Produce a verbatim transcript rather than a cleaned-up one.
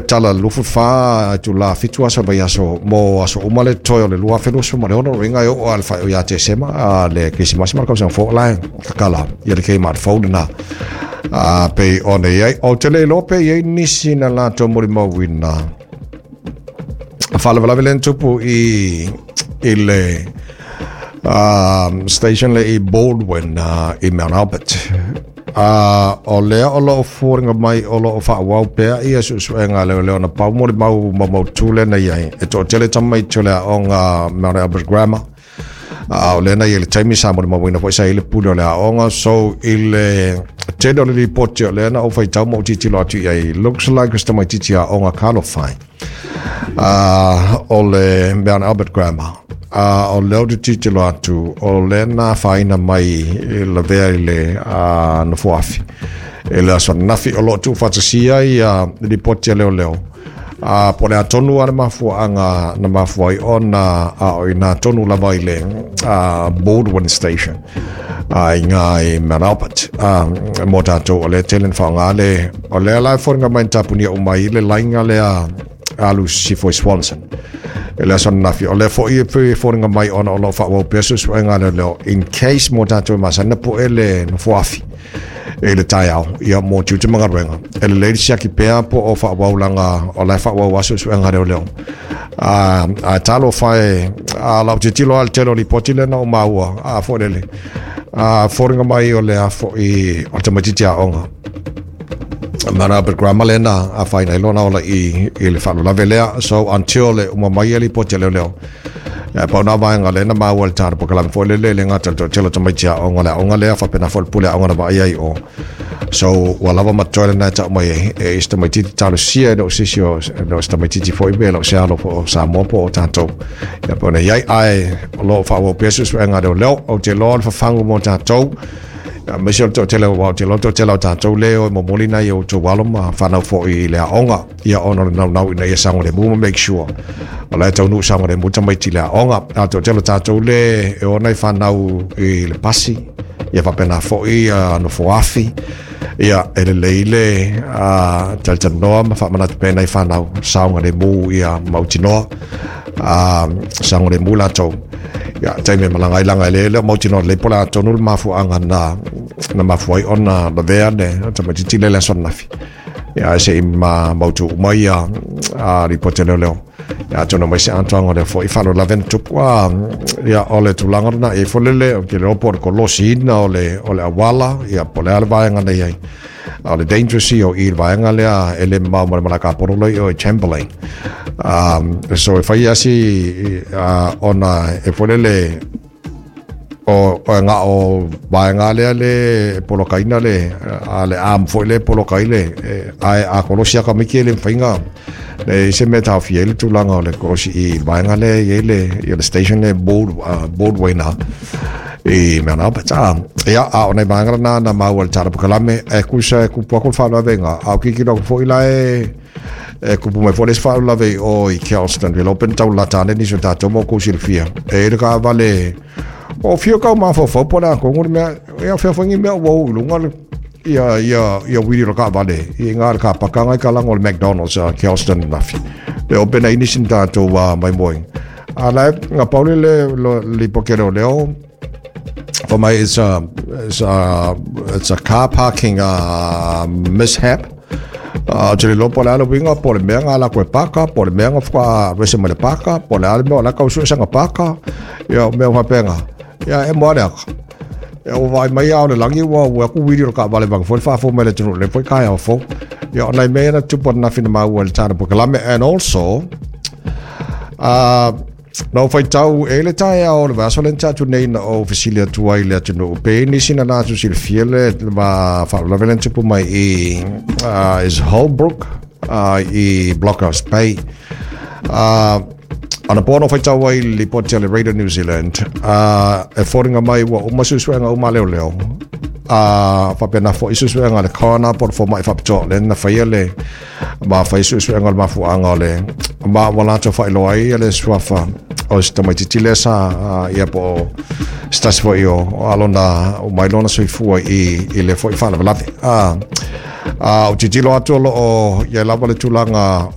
tala lufu fa tula fitu aso vai aso mo aso uma le toe o le lua afe lusu ma le ono ringa e o al fa o ia te sema a le Krisimasi ma le kausaga fou la e kakala ia le Kmart fou lena a pei ona i ai. Ou te le iloa pe i ai nisi na latou molimauina faalavelave lea na tupu i i le um, station le i Baldwin uh, i Mount Albert. Uh, o lea o loo fuaringa mai o loo faaauau pea ia suesuega a leoleo na pau molimau maumautu lea na i ai e toatele tamaiti o le aoga Mount Albert Grammar. A o lea na i ai le taimi sa molimauina foi sa i le pule o le aoga. So i le tele o le lipoti o lea na ou faitau ma ou tilotilo atu i ai, looks like o se tamaititi aoga Kalofai uh, o le Mount Albert Grammar. Uh, o lea ou te tilotilo atu o lea na afaina mai i lavea i le uh, nofoafi i le aso ananafi o lo o tuufaatasia ia lipoti a leoleo. A po o le a tonu a le mafuaaga na mafua ai ona a o ina tonu lava i le uh, Baldwin Station uh, i ngā i Mount Albert. Uh, mo tātou o lea tele na whaonga le o lea la e fōringa mai na tapunia uma i le lainga lea alu sifo i Swanson e le aso ananafi o lea foi e pe fōringa mai ona o lo whaawau pea suesuega leo leo in case mo tātou e masana po e le nofoafi e le taeao ia mo tiute ma galuega e lelei le siaki pea po o faaauau laga o la e faaauau a suesuega leoleo a a talofa e a lau tilotilo a le tele o lipoti lea na ou maua a foi lele a foliga mai o le a foi o le tamaititi aoga Mana Grammar lena a whaina i lona ola i, i le faalavelave lea. So until le uma mai e lipoti a leoleo ia pau na vaega lea na maua i le tala polokalame foi lele le gata i le toatele o tamaiti aoga le aoga lea faapena foi le pule aoga na vaaia ai o. So ua lava ma totoe lena e tau mai ai e i se tamaititi talosia e le o se isi o le o se tamaititi foi pe le o se alo po o Samoa po o tatou ia pei ona i ai ae o lo o faaauau pea suesuega a leoleo. Ou te iloa o le fafagu mo tatou aemaise o le toatele aua ou te iloa le toatele o tatou lea e momoli nai o outou alo ma fanau foi i le aoga ia ona o le naunau ina ia saogalemu ma make sure o la e taunuu saogalemu tamaiti i le aoga. A o le toatele o tatou le e o nai fanau i le pasi ia faapena foi nofoafi ia e lelei le talatalanoa ma faamanatu pea nai fanau saogalemu ia mautinoa saogalemu latou ia taimi e malaga ai laga e le lea o mautinoa lelei po o le a tonu le mafuaaga na na mafua ai ona lavea le tamaititi lea i le aso ananafi ia ae se i ma mautu uma ia a lipoti a leoleo ia atonu mai se atoaga o lea foi faalavelave na tupu a ia o le tulaga lena e i ai foi lele ou te iloa po o le kolosiina o le o le auala ia po o le a le vaega na i ai a o le dangerous ia o i le vaega lea e le mamao ma le malae kapono lea i o i Chamberlain. Um, so e fai asi uh, ona e foi lele o o nga o vaega lea le polokaina le a le am foi le polokai le ae a kolosi aka miki le mawhainga le se mea taofia ai le tulaga o le kolosi i vaega lea i ai le i le station le board uh, Broadway na i Mount Albert. A ia a o nei vaega lena na maua i le tala polokalame e kusa e kupu aku le faalavelave a o kikilo aku foi la e e kupu mai foi le isi faalavelave i o i Kelston le open tau lata ane nisi o tatou ma oukou silafia e i le kaavale o fia kau mafaufau po o le a kongo le mea ia fea foi ni mea ua ou i luga le ia ia ia wili o le kaavale i ngā le kapaka ngai ka lago o le McDonald's a Kelston nafi le open ai nisi na tatou uh, maimoe a la nga pauli le lo lipoti a leoleo for mai it's a it's a it's a car parking uh, mishap. Uh, te le iloa po o le a le uiga po o le mea nga lakou e paka po o le mea nga faatoa rese mai le paka po o le a le mea o la kau suesaga paka ia o mea faapena ia e moa le aka ia ua vaai mai a o le lagi ua ua aku wili o le kaavale vanga foi le faafou mai le atunuu le foi taeao fou ia o nai mea ia na tupu ananafi na maua i le tana polokalame. And also uh, na ou faitau e le taeao o le vaiaso lea na tea atu nei na ou fesili atu ai i le atunuu pe i nisi na latou silafia le ma faalavelave lea na tupu mai i uh, is Holbrook uh, i Blockhouse Bay. Uh, anapo na ou faitau ai i le lipoti a le Radio New Zealand uh, e foliga mai ua uma suesuega uma a leoleo a faapena foi suesuega a le coroner po o le fomai faapitoa lea na faia le ma fai suesuega o le mafuaaga o le ma ua latou faailoa ai le suafa o se tamaititi lea sa ia po o se tasi foi o alona o mai lona soifua i i le foi faalavelave a a o tilotilo atu o loo i ai lava le tulaga.